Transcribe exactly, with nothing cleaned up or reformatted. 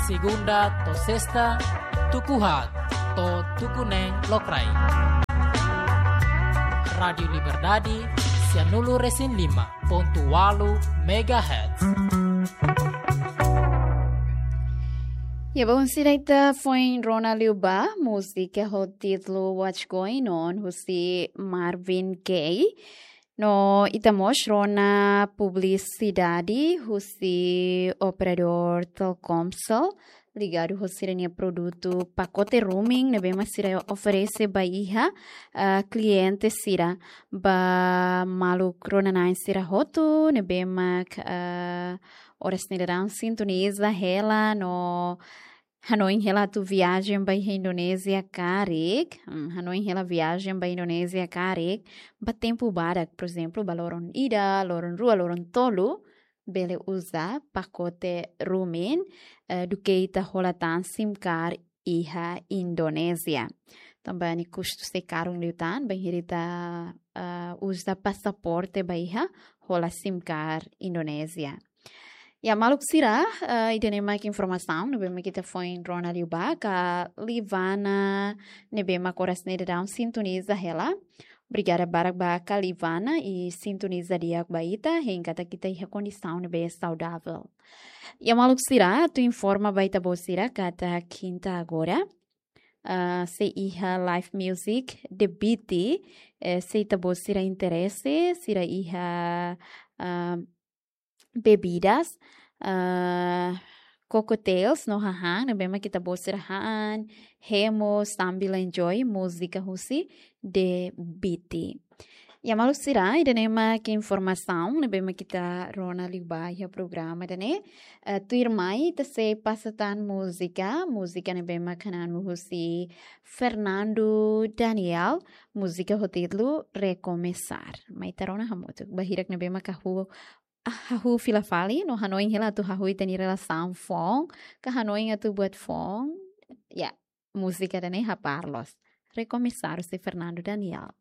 Segunda to'o sesta, tuku haat to'o tuku neen lokraik. Rádiu Liberdade, sianulu resin lima pontu ualu megahertz. Ya, bom, sira ita foin rona liu ba múzika ho títulu What's Going On, husi Marvin Gaye. No ita mós rona publisidade husi operadór Telkomsel, ligadu ho sira-nia produtu pakote roaming ne'ebé mak sira oferese ba iha, ah, kliente sira, ba maluk rona-na'in sira hotu ne'ebé mak, ah, oras ne'e daudaun sintoniza hela no hanoin hela atu viajen ba iha Indonézia karik, hmm, hanoin hela viajen ba Indonézia karik, ba tempu badak, por ezemplu, ba loron ida, loron rua, loron tolu, bele uza pakote roaming, eh, duké ita hola tan SIM card iha Indonézia. Tanba nia kustu sei karun liután, bainhira ita, eh, uza pasaporte ba iha hola SIM card Indonézia. Ya, maluk sira, eh, ida-ne'e mak informasaun ne'ebé mak ita foin rona liu ba, ka Livana ne'ebé mak oras ne'e daudaun sintoniza hela. Obrigada barak ba ka Livana, i sintoniza di'ak ba ita, hein katak ita iha kondisaun ne'ebé saudavel. Ya, maluk sira, atu informa ba ita-boot sira katak kinta agora, ah, sei iha live music The Beat, eh, se ita-boot sira interese, sira iha, ah, bebidas, ah, cocktails no hahán ne'ebé mak ita-boot sira han, hemu sambil enjoy múzika husi The Beat. Ya, maluk sira, ida-ne'e mak informasaun ne'ebé mak ita rona liu ba iha programa ida-ne'e. Eh, tuirmai ita sei pasa tan múzika, múzika ne'ebé mak hanesan husi Fernando Daniel, múzika ho títulu Recomeçar. Mai ita rona hamutuk, ba hirak ne'ebé mak hahú, ah, hahú fila fali, no hanoin hela atu hahú ita-nia relasaun foun, ka hanoin atu buat foun. Ya, múzika ida-ne'e haparlos. Recomeçar husi Fernando Daniel.